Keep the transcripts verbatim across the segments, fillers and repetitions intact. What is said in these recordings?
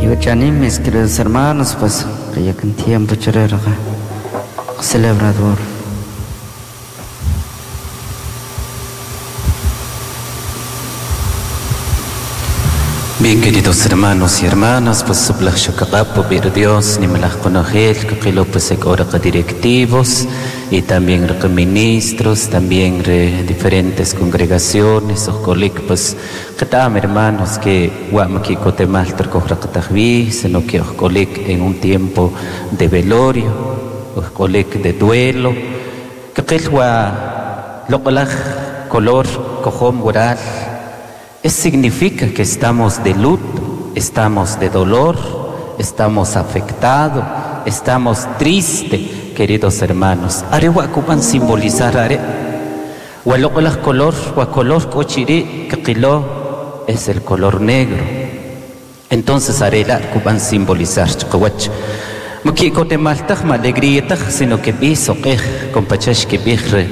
Y mis queridos hermanos, pues que ya con tiempo celebrador. Bien, queridos hermanos y hermanas, pues sublaj shokaqapo bir Dios, nimalaj konojel, kakilo pues ora directivos y también re ministros, también re diferentes congregaciones, ojolik pues katam hermanos que guamaki kotemal terkojraqatajvi, sino que ojolik en un tiempo de velorio, ojolik de duelo, kakilwa loqolaj color kojom gural. Eso significa que estamos de luto, estamos de dolor, estamos afectados, estamos tristes, queridos hermanos. Arewa kupan simbolizar are. Waloqolaj color, wa color kochiri kaqilo es el color negro. Entonces arela kupan simbolizar chqawach. Maki kotemaltaj ma alegría sino que biso qej compachash que bijre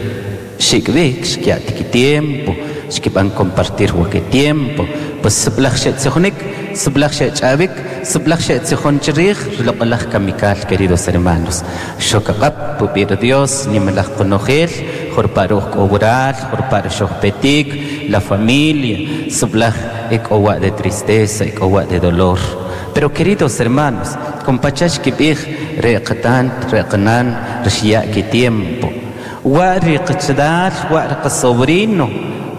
xikbik xkiatiki tiempo. Que van a compartir que tiempo pues sublaj xetzijonik sublaj xetchavik sublaj xetzijonchirij loqolaj kamikal, queridos hermanos. Xokaqap pupir Dios nimalaj konojel jorparuj k'obural jorparuj xojpetik la familia sublaj ek'owa de tristeza ek'owa de dolor. Pero queridos hermanos, compachash kibij reqatan reqanan rxya ki tiempo wa riqchdal wa riqsobrino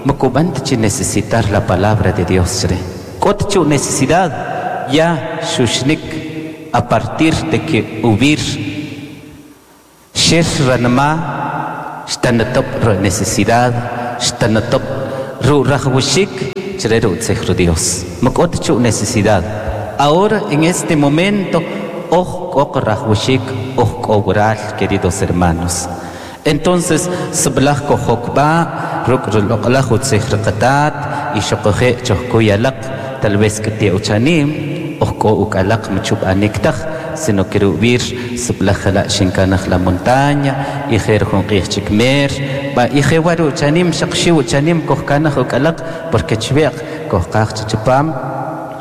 Mokubante necesitar la palabra de Dios. Kotchu necesidad ya shushnik a partir de que ubir sher ranma shtanatop necesidad shtanatop ru rajwishik chreru tsejro Dios. Mokotchu necesidad. Ahora en este momento oj kok rajwishik oj kogral, queridos hermanos. Entonces sublaj kojokba ruk loqlaj utzijrqatat y xoqoje choqkuyalaq tal vez que te uchanim ojko ukalaq mchub aniktaj sino que rubir sublaj la xinkanaj la montaña y jer junqij chikmer ba y jewaru uchanim xaqxi uchanim kojkanaj ukalaq porque chweq kojqaj chichupam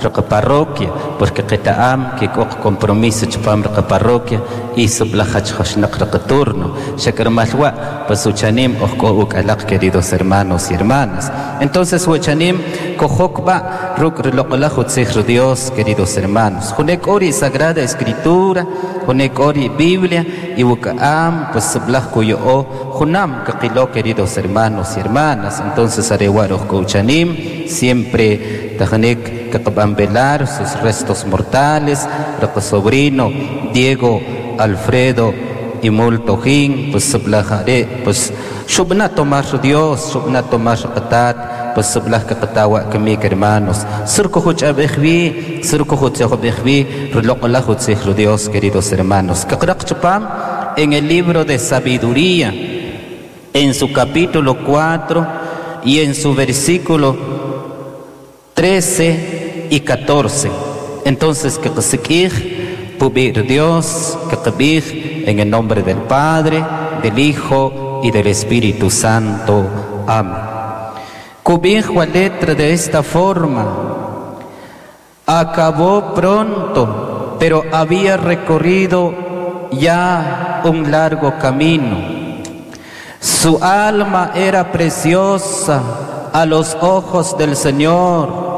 roqa parroquia porque qetaam que kok compromiso chupam roqa parroquia y sublaj xnaq roqa turno xakarmalwa pues uchanim ojko ukalaq, queridos hermanos y hermanas. Entonces uchanim kojokba ruk loqolaj utzij Dios, queridos hermanos. Junek ori Sagrada Escritura, junek ori Biblia y wukaam pues sublaj kuyo junam kaqilo, queridos hermanos y hermanas. Entonces arewa ojko uchanim siempre tajanek que velar sus restos mortales, roco sobrino Diego Alfredo y Multojin, pues sublajare, pues shubna tomar Dios, shubna tomar qatat, pues sublaj qatawa kemik hermanos, surco huch abejvi, surco huch abejvi, rloqla huch Dios, queridos hermanos. Kaqraq chupam en el libro de sabiduría, en su capítulo cuatro y en su versículo trece y catorce. Entonces, que qsikij pubir Dios, que qbij en el nombre del Padre, del Hijo y del Espíritu Santo. Amén. Cubij la letra de esta forma. Acabó pronto, pero había recorrido ya un largo camino. Su alma era preciosa a los ojos del Señor.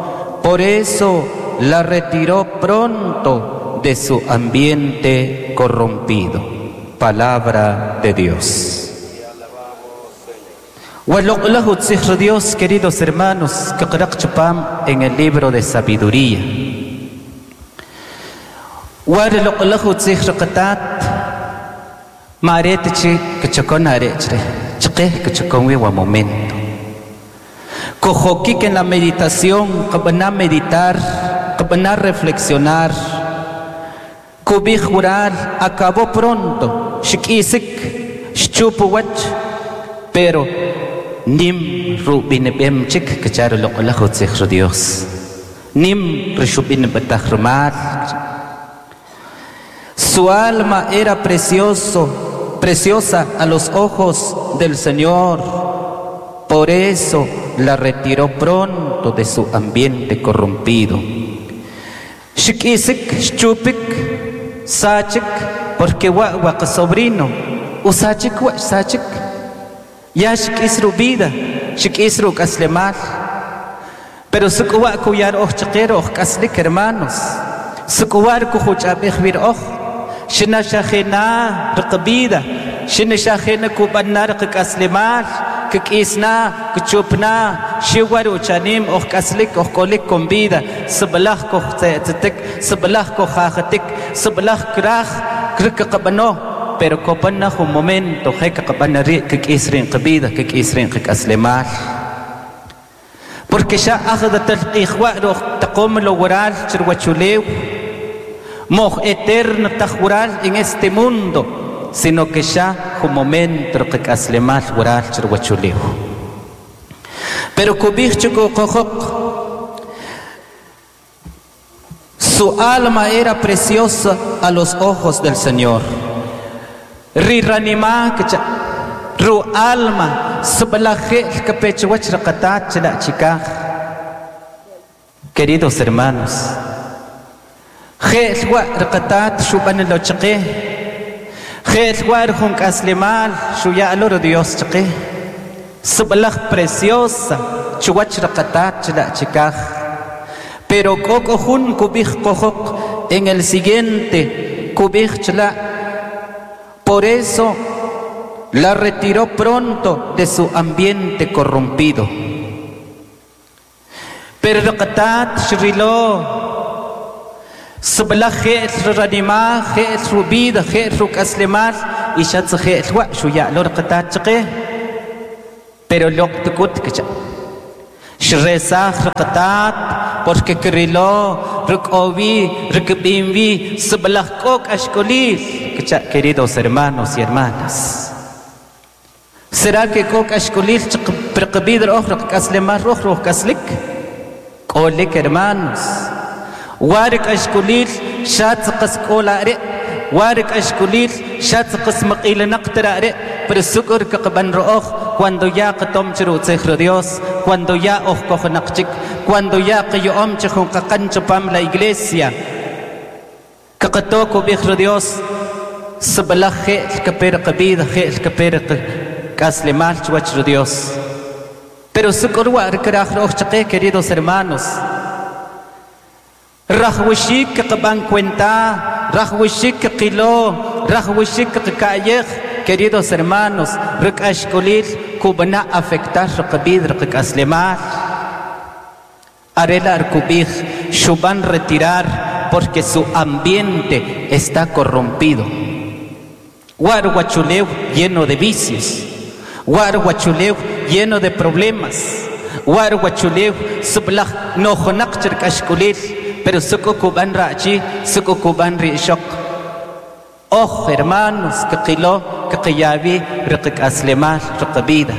Por eso la retiró pronto de su ambiente corrompido. Palabra de Dios. Dios, queridos hermanos, en el libro de sabiduría. Momento. Kojokik en la meditación, kabana meditar, kabana reflexionar. Kubij jurar, acabó pronto, shikisik, shchupuwach, pero nim rubinebem chik, kacharo loqolajo tzijro Dios. Nim rishubin betajrumal. Su alma era precioso, preciosa a los ojos del Señor. Por eso la retiró pronto de su ambiente corrompido. Xik'isik xchupik sachik porque wa wa sobrino usachik wa sachik ya xik'is ru vida xik'is ru k'aslemal pero suk'uwa kuyar oj chaqer oj k'aslik hermanos suk'uwa kujuch'ab'ej wir oj xina xajena riqbida xina xajena kub'anna riqk'aslemal kik'isna kichupna xiwar uchanim oj k'aslik oj k'olik con vida sib'alaj koj tze'tzitik sib'alaj koj jajatik sib'alaj kraj kriqab'ano pero kopanna jun momento je kaqab'ana ri' kik'is rin qbida kik'is rin qk'aslemal porque xa ajdatal q'ijwa' roj taqom lo waral chirwachulew moj eterno taj waral en este mundo sino que xa jun momento qk'aslemal waral chirwachulew pero kub'ij chikuqojoq su alma era preciosa a los ojos del Señor. Riranima ru alma sib'alaj kapechwach raqatat chila chikaj. Queridos hermanos, je'l wa raqatat xub'an lo chaqe, je'l wa jun k'aslemal xuya'lo ro Dios chaqe, sib'alaj preciosa chuwach raqatat chila chikaj. Pero k'o jun kub'ij qojoq en el siguiente kub'ij chila. Por eso la retiró pronto de su ambiente corrompido. Pero raqatat xrilo sib'alaj je'l ranima je'l rubida je'l ruk'aslemal y xatz je'l wa xuya'lo raqatat chaqe pero loq tukut kicha xresaj raqatat porque krilo ruk'owi rukb'inwi sib'alaj k'o k'axk'olil kicha. Queridos hermanos y hermanas, ¿será que k'o k'axk'olil priqb'id roj ruk'aslemal roj ruk'aslik? K'olik hermanos, war k'axk'olil xatz qas k'ola ri' war k'axk'olil xatz qas maq'ilinaq tira ri' pero suk'ur kaqb'an ro'oj cuando ya qatom chirutzij ro Dios, cuando ya oj kojnaq chik, cuando ya qayo'om chi jun qaqan chupam la iglesia kaqato kub'ij ro Dios sib'alaj je'l kaper qabida je'l kaper k'aslemal chuwach ro Dios. Pero suk'ur wa rikraj ro'oj chaqe, queridos hermanos, rajwixik qb'an cuenta, rajwixik qilo, rajwixik qka'yej, queridos hermanos, rik'axk'olil kub'ana afectar riqb'id riqk'aslemal. Arela arkub'ij xub'an retirar porque su ambiente está corrompido. War wachulew lleno de vicios, war wachulew lleno de problemas, war wachulew sib'alaj nojonaq chirk'axk'olil pero suk'u kub'an ra'chi suk'u kub'an ri'xoq. Oj hermanos kqilo kqiyawi riqk'aslemal riqbida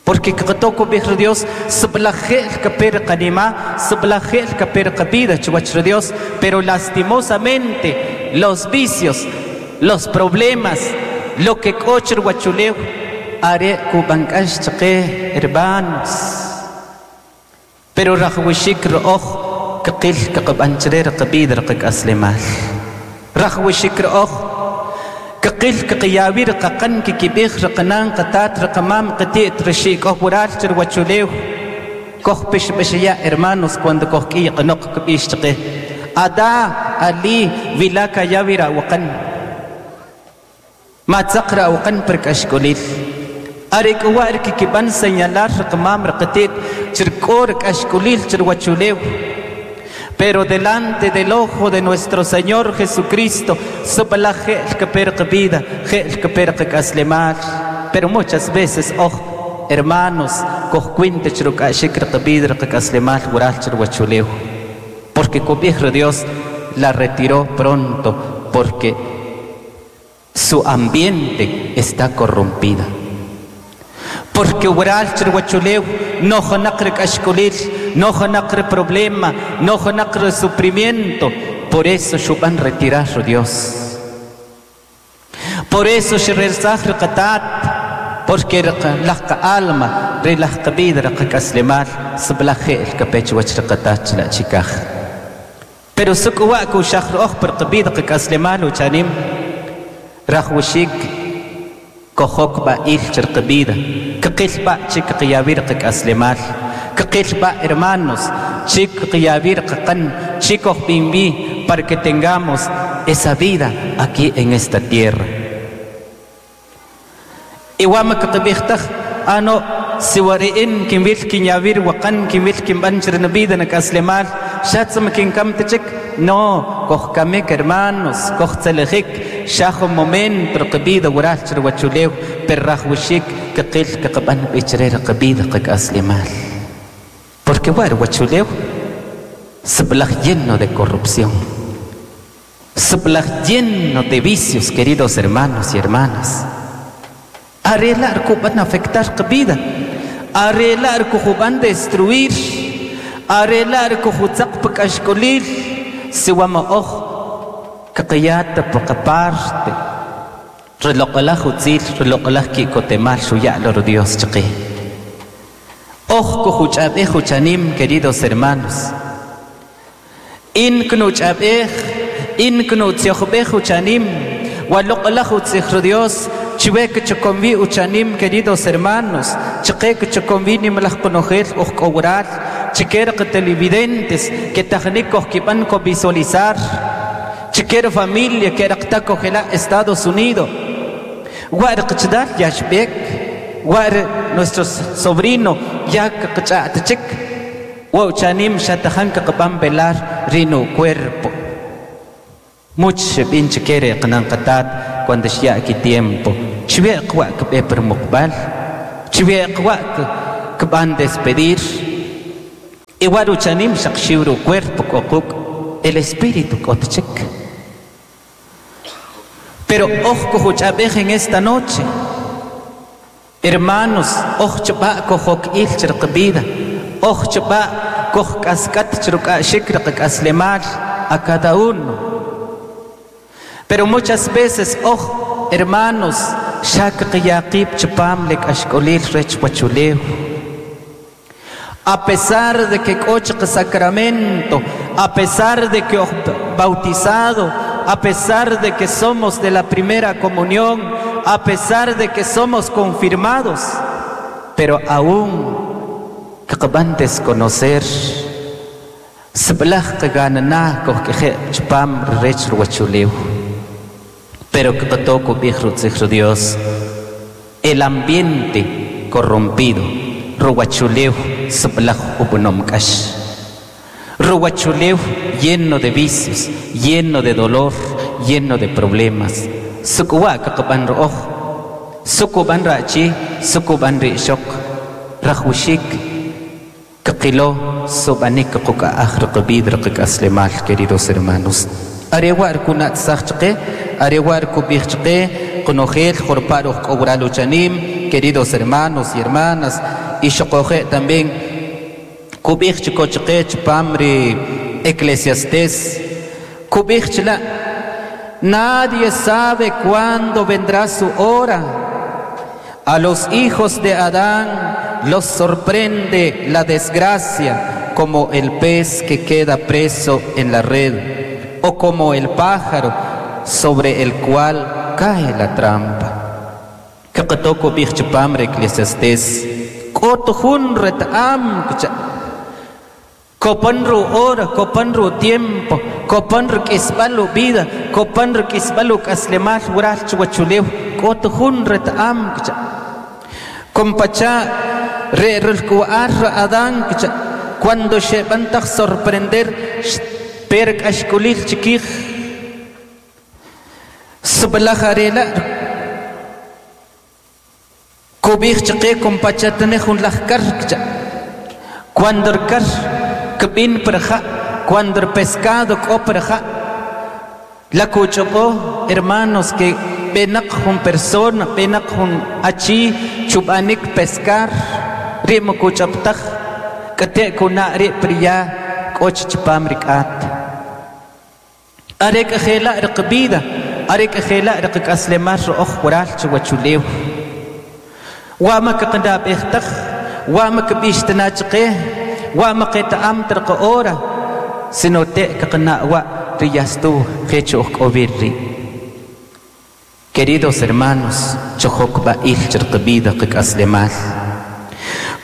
porque kqatoko b'ij ri Dios sib'alaj je'l kape riqanima sib'alaj je'l kape riqbida chuwach ri Dios pero lastimosamente los vicios, los problemas, lo que k'o chirwachulew are kub'an k'ax chaqe hermanos. Pero rajwixik ro'oj kqil kqab'an chire riqb'id riqk'aslemal. Rajwixik ro'oj kqil kqiyawi riqaqan kikib'ij riqanan qatat riqamam qati't rixik k'oj wural chirwachulew koj pixb'exiya hermanos cuando koj k'iy qanoq kb'ix chaqe ada ali wilaka yawi ra'waqan ma tzaq ra'waqan perk'axk'olil are k'uwa kikib'an señalar riqamam riqatit chirk'o rik'axk'olil chirwachulew. Pero delante del ojo de nuestro Señor Jesucristo sib'alaj je'l kaper qbida je'l kaper qk'aslemal. Pero muchas veces oj hermanos koj cuinte chiruk'axik riqbida riqk'aslemal wural chirwachulew porque kub'ij ri Dios la retiró pronto porque su ambiente está corrompida. Porque wural chirwachulew no jonaq rik'axk'olil, no jonaq ri problema, no jonaq ri sufrimiento. Por eso xub'an retirar ri Dios. Por eso xirelsaj riqatat, porque laj alma ri laj qabida riqk'aslemal sib'alaj je'l kapech wach riqatat chila chikaj. Pero suk'wa ku shakhro'oj per qbida qk'aslemal uchanim rajwixik kojok ba'il chirqbida kqil ba' chik qyabir qk'aslemal kqil ba' hermanos chik qyabir qqan chikoj bimbi para que tengamos esa vida aquí en esta tierra. Iwama kqbijtaj ano siwari'in kinwil kinyabir waqan kinwil kinb'an chirnabida nak'aslemal xatzam kinkam tichik no kojkamik hermanos kojtzelejik xajo momento rqbida wural chirwachulew per rajwixik kqil kqb'an b'ichre rqbida qk'aslemal porque war wachulew sblaj lleno de corrupción, sblaj lleno de vicios, queridos hermanos y hermanas. Arreglar kuban afectar vida, arreglar kuban destruir, arreglar kuhutzaq pakashkolil, siwama oj kaqiyata paqaparte, reloqalaj utzil, reloqalaj kikotemal xuya'lo Dios chaqi. Oj kuhuch'ab'ej uchanim, queridos hermanos. In knuch'ab'ej, in knutzioqb'ej uchanim, waloqalaj utzij Dios, chiwe kchokombi uchanim, queridos hermanos, chqe kchokombi nimlaj konojel oj k'owral, chiker televidentes que tajnik oj ko visualizar, chiker familia que raqta kojela Estados Unidos, war qchdal yashbek, war nuestro sobrino ya qch'atchik, wa uchanim xatajan kqb'an velar rino cuerpo. Much binch kere qnan qatat cuando xya ki tiempo chwe qwa kb'e per muqbal chwe qwa kb'an despedir igual uchanim xaqxiwru cuerpo k'oquk el espíritu k'otchik. Pero oj kujuch'ab'ej en esta noche, hermanos, oj chb'a kojok il chirqbida, oj chb'a koj k'askat chruk'a'xik rqk'aslemal a cada uno. Pero muchas veces, oh, hermanos, shak qiyaqib chpam lek ashkolil rech wachulew. A pesar de que koch sacramento, a pesar de que bautizado, a pesar de que somos de la primera comunión, a pesar de que somos confirmados, pero aún kqban desconocer sblaj qganana koj chpam rech wachulew. Pero que toco viejo Dios, el ambiente corrompido, ruachuleu sblaj ubunomkash, ruachuleu lleno de vicios, lleno de dolor, lleno de problemas. Sukuwa kaqban rooj, sukuban rachi, sukuban rishok, rajushik, kaqilo subanik quka ajrqbid rqkaslemal, queridos hermanos. Arewar kunat sachqe, arewar kubijchqe, konojel jorparuj k'owraluchanim, queridos hermanos y hermanas, y xoqoje también kubijchkochqe chpamri Eclesiastés, kubijchla, nadie sabe cuándo vendrá su hora. A los hijos de Adán los sorprende la desgracia, como el pez que queda preso en la red, o como el pájaro sobre el cual cae la trampa. Kaqatoko bijchpamre Eclesiastés, k'otujun ret'am kopanru hora, kopanru tiempo, kopanru k'isb'alu vida, kopanru k'isb'alu k'aslemal wural chuwachulew, k'otujun ret'am Compacha re rulkuar Adán cuando xeb'antaj sorprender per k'axkulil chikij sblaj arela kubij chqe compachatane jun laj kar cuando el kar kb'in perja, cuando el pescado k'o perja la kuch'oqo hermanos que b'enaq jun persona b'enaq jun achi chub'anik pescar ri'mo kuch'ab'taj k'ate' kuna' ri' priya k'och chpam rik'at are k'ajela' riqbida are k'ajela' riqk'aslemal ro'oj wural chiwachulew wama kqandab'ejtaj wama kb'ixtana chqe wama qeta'am tarqa hora Sino te kaqna wa riyastu hecho ojk'obirri. Queridos hermanos, chojok ba'il chirqbida qik'aslemal.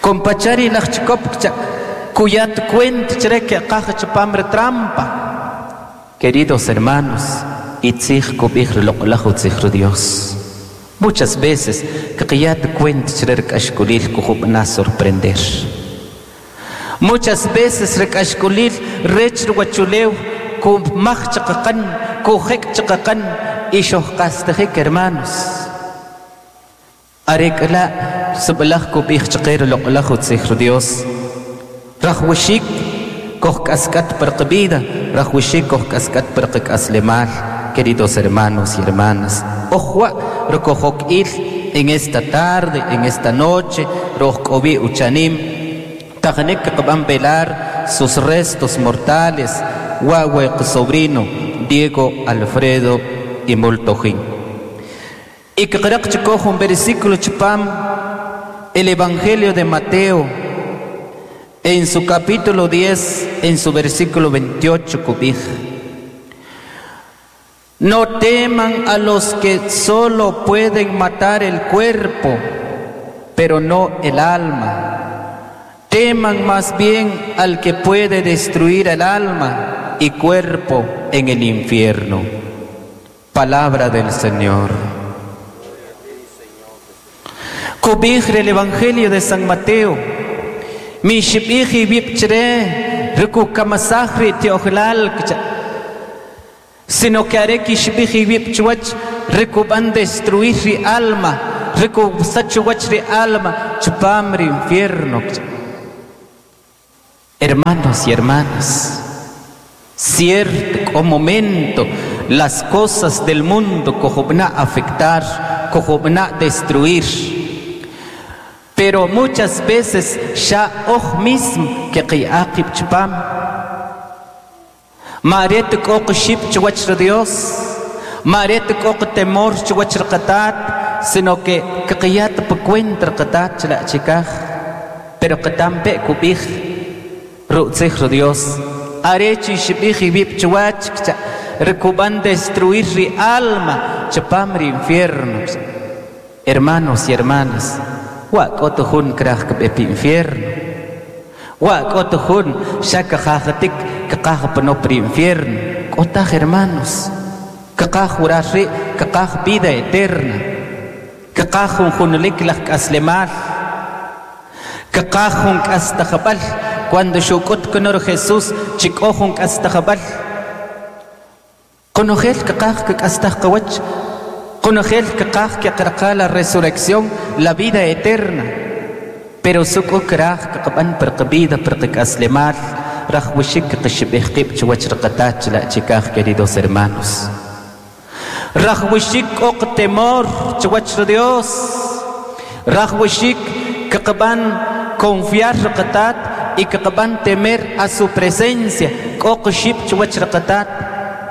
Compachari laj chikop kuyat cuent chreke qaj chpam trampa. Queridos hermanos, itzij kubij loq'laj utzij Dios. Muchas veces qiyat cuent chrek ashkulil kujub'na sorprender. Muchas veces rek ashkulil rech ruwachulew kumaj chaqaqan kujek chaqaqan ixoj qastejik hermanos. Arekla sublaj kubij chaqer loq'laj utzij Dios. Rajwixik koj k'askat per qbida, rajwixik koj k'askat per qk'aslemal, queridos hermanos y hermanas. Ojwa rokojok il en esta tarde, en esta noche, rojk'obi uchanim, tajnik qb'an velar sus restos mortales, wawe sobrino Diego Alfredo y Multojin. Y que creo un versículo chupam, el Evangelio de Mateo, en su capítulo diez, en su versículo veintiocho, cubij. No teman a los que solo pueden matar el cuerpo, pero no el alma. Teman más bien al que puede destruir el alma y cuerpo en el infierno. Palabra del Señor. Cobijre el Evangelio de San Mateo. Mi shibiji bipchre, rikukamasajri teojlal. Sino que haré que shibiji bipchwach, rikuban destruir ri alma, rikusachuach ri alma, chupamri infierno. Hermanos y hermanas, cierto momento las cosas del mundo cojobna afectar, cojobna destruir. Pero muchas veces ya oj mismo que qiaqib chupam. Maret kok ship chuach Dios, maret kok temor chuach qatat, sino que qiyat pcuentra qatat chla chikaj. Pero qatampe kubij rutzij Dios. Arechi shibij bib chuach rekuban destruir ri alma chupam ri infierno. Hermanos y hermanas, wa k'oto jun kraj kb'e pi infierno. Wa k'oto jun xa kaqajatik kaqaj pano pri infierno. K'otaj hermanos, kaqaj wurar ri' kaqaj vida eterna. Kaqaj jun junulik laj k'aslemal. Kaqaj jun k'astajab'al. Cuando xuk'ut kunor Jesús chik'o jun k'astajab'al. Konojel kaqaj k'astaj qawach. Konojel kaqaj que aqraqa la resurrección, la vida eterna. Pero suk'u kraj kaqb'an per qbida per qk'aslemal, rajwixik qxib'ij qib' chuwach raqatach la chikaj, queridos hermanos. Rajwixik k'o temor chuwach Dios. Rajwixik kaqb'an confiar raqatat y kaqb'an temer a su presencia. K'o qxib' chuwach raqatat.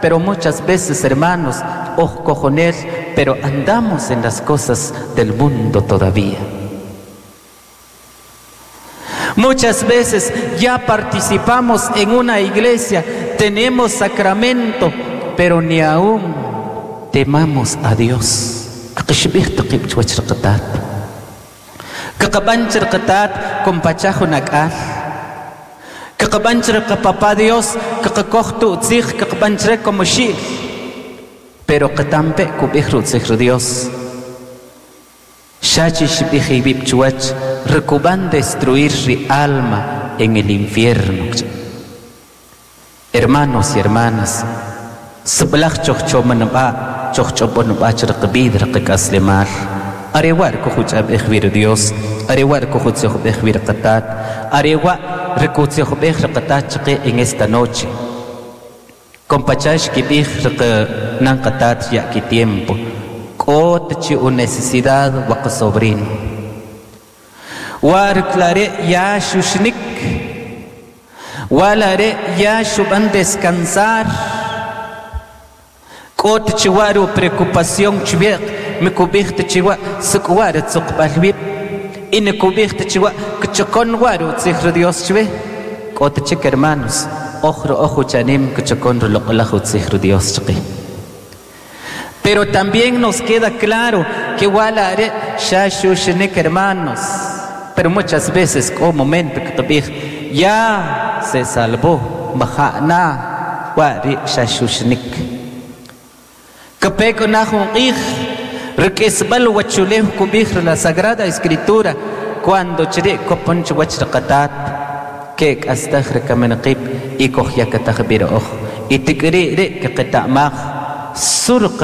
Pero muchas veces, hermanos, oj cojonel, pero andamos en las cosas del mundo todavía. Muchas veces ya participamos en una iglesia, tenemos sacramento, pero ni aún temamos a Dios. Papá Dios, como pero qatampe kubij rutzij Dios. Shachi shibij bib chuach rekuban destruir ri alma en el infierno. Hermanos y hermanas, sublaj choch chomanba choch chobonba chrqbid rqkaslemal. Arewar kujuch abej Dios, arewar kujuch bej qatat, arewa rekutzij bej qatat chqe en esta noche. Compachash kibij nan qatat ya ki tiempo. K'ot chi un necesidad waq sobrino. War clare ya shushnik. Walare ya shuban descansar. K'ot chi waru preocupación chbiq mikubij chiwa sukwar tsuqbalwib. Inekubij chiwa kchokon waru tzij Dios chwe. K'ot chik hermanos. Ojro ojo chanim kuchokon Dios. Pero también nos queda claro que wala shashushnik, hermanos. Pero muchas veces, como momento que ya se salvó, majana wari shashushnik. Kapeko nahun ij, rikisbal wachulev kubij la Sagrada Escritura, cuando chiri koponch wachraqatat, kek astaj rikamenqib y kohyakataj biroj, y tikri ri keqetamaj, surq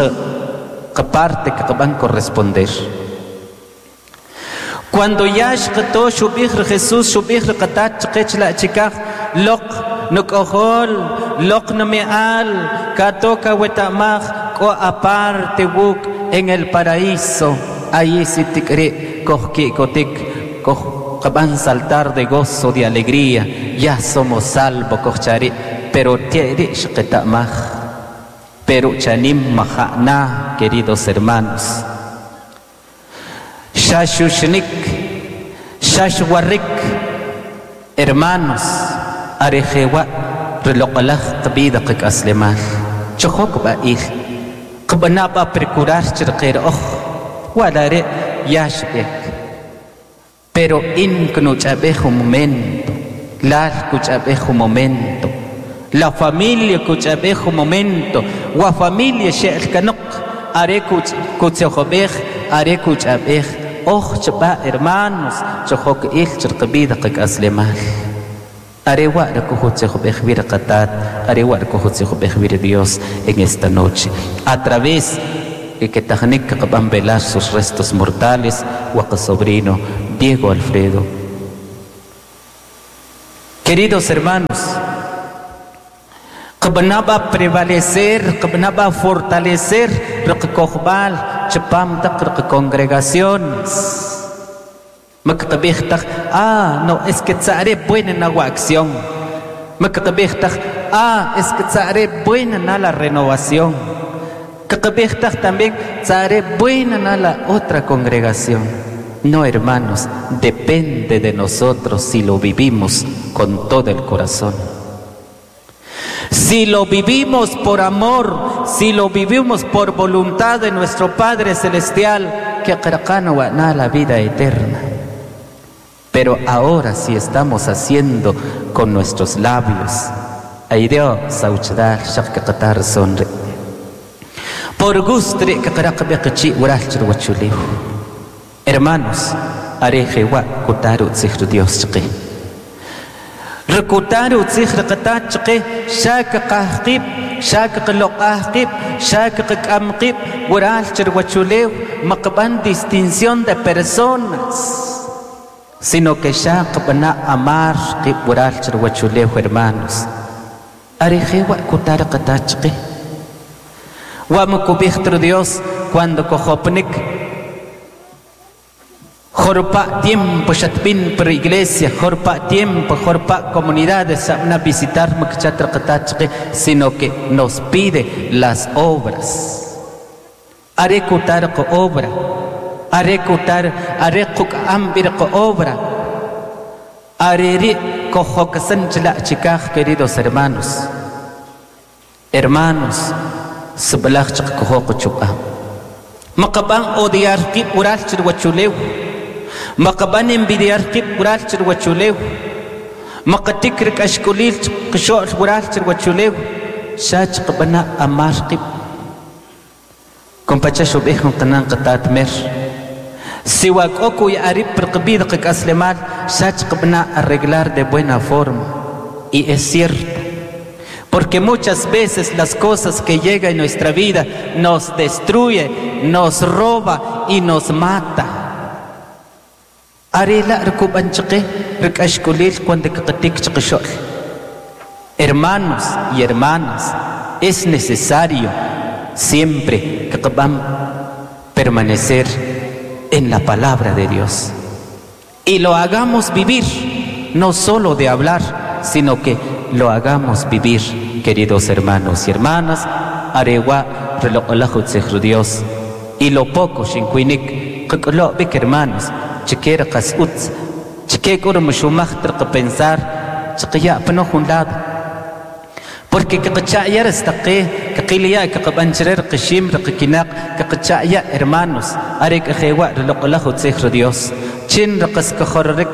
parte que van corresponder. Cuando ya xqeto xubij Jesús xubij rqatat chqech la chikaj loq nuk'ojol loq numi'al katoka wetamaj k'o aparte wuk en el paraíso, ahí si tikri kojki'kotik koj qaban saltar de gozo, de alegría, ya somos salvos kojchari, pero tieri xqetamaj. Pero chanim majana, queridos hermanos. Shashushnik, shashwarik, hermanos, arejewa, reloqalaj qbida qik aslemal. Chohok ba'il, qbanaba procurar chirqir oj, walare yashbek. Pero in kunuchabej un momento, lal kuchabej un momento. La familia kuchabej un momento, wa familia she'el kanok, are kutzejobej, are kuchabej, oj chba hermanos, chojok il chirqbida qik aslemal. Are wa rakujutzejobej vir qatat, are wa rakujutzejobej vir Dios en esta noche. A través de que tajnik qban velar sus restos mortales, wa sobrino Diego Alfredo. Queridos hermanos, qbnaba prevalecer, qbnaba fortalecer rqkojbal chpam taq rqcongregaciones. Maqtabij taq, ah, no, es que tzare buena na acción. Maqtabij taq, ah, es que tzare buena na la renovación. Qtabij taq también tzare buena na la otra congregación. No, hermanos, depende de nosotros si lo vivimos con todo el corazón. Si lo vivimos por amor, si lo vivimos por voluntad de nuestro Padre Celestial, que qarqana la vida eterna. Pero ahora si estamos haciendo con nuestros labios, ay Dios, sauchdal shaqqatar sonre. Por gusto que qaraqbiqchi waralchir. Hermanos, arejewa kutaru tzijru Dios chqi. Recutaru tzijru qatat chqi, shak qahqib, shak qloqahqib, shak qamqib, waralchir wachulew, maqban distinción de personas, sino que shak bana amar qib waralchir wachulew, hermanos. Arejewa kutaru qatat chqi. Wamukubijtru Dios cuando kojopnik Jorpa tiempo shatpin per iglesia, jorpa tiempo, jorpa comunidades a visitar sino que nos pide las obras. Arekutar ko obra, arekutar, arekuk ambir ko obra, areri kojokasanchla chikaj, queridos hermanos. Hermanos, sebelah chak kohoko chupa. Maqaban odiar ki ural chirwachulew. Maqaban envidiar qib ural chirwachulew. Maqatikrik ashkulil qisho'l ural chirwachulew. Shach qabana amar qib. Compacha shubih qanan qatat mer. Siwak oku y arib perqbid qik aslemal shach qabna arreglar de buena forma. Y es cierto, porque muchas veces las cosas que llegan en nuestra vida nos destruye, nos roba y nos mata. Arela rkubanchqe rkashkulil cuando qtik chqishol. Hermanos y hermanas, es necesario siempre que permanecer en la palabra de Dios y lo hagamos vivir, no solo de hablar, sino que lo hagamos vivir, queridos hermanos y hermanas. Arewa reloqolahu tzijru Dios y lo poco xinkuinik qk'lo bik, hermanos. Chiquera qasutz, chique kuro mushumaj trqa pensar, chiquya pno un lado. Porque kaqacha'ya rastaqe, kaqilia kaqabancherer qishim raqkinaq, kaqacha'ya hermanos, arek jewa reloq'olaj utzij Dios. Chin raqas kajorrek,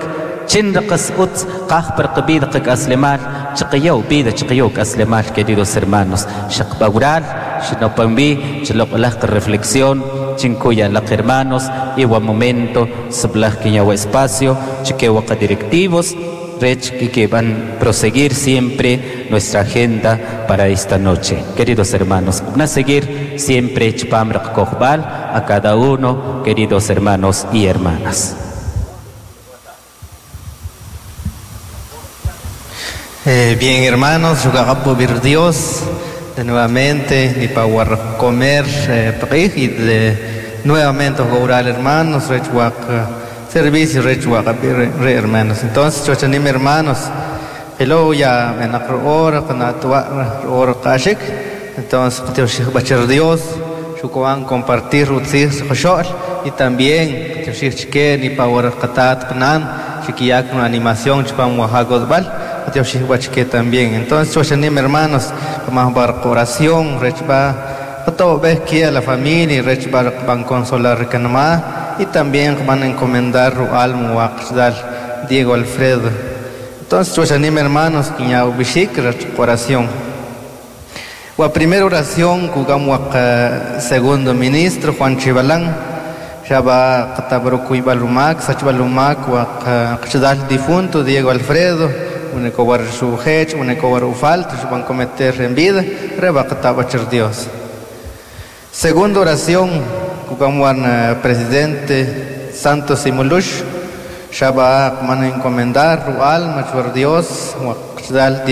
chin raqas utz, qaj per qbida qak'aslemal, chiqiyaw vida, chiqiyaw k'aslemal, queridos hermanos. Xaqbawral, xinopambi, chiloq'olaj reflexión, chinkuya laq hermanos, iwa momento, sublaj kiñawa espacio, chiquewaqa directivos, rech que van a proseguir siempre nuestra agenda para esta noche. Queridos hermanos, van a seguir siempre Chpam Kojbal a cada uno, queridos hermanos y hermanas. Eh, bien, hermanos, Dios, de nuevamente, ni para comer, eh, y de nuevamente orar, hermanos, servicio re hermanos. Entonces, chochanim hermanos, hello ya en hora hora kashik. Entonces, bacher Dios, shukuan compartir utzir xoshol y también tioshik ni pa hora qatat qnan, chikiyak una animación chpam wahagodbal, tioshik bachke también. Entonces, chochanim hermanos, más bar oración, rechba todo ves que a la familia rechba van consolar kanma. Y también van a encomendar al muaqdal Diego Alfredo. Entonces, os animo hermanos, que oración. La primera oración, jugamos segundo ministro Juan Chibalán, ya va Katabroku Ibalumac, Sachbalumac, Waqdal difunto Diego Alfredo, unecobar su hech, unecobar ufalt, van a cometer en vida, reba Katabacher Dios. Segunda oración, jugamos presidente Santos Simulush, ya va a encomendar alma, Dios,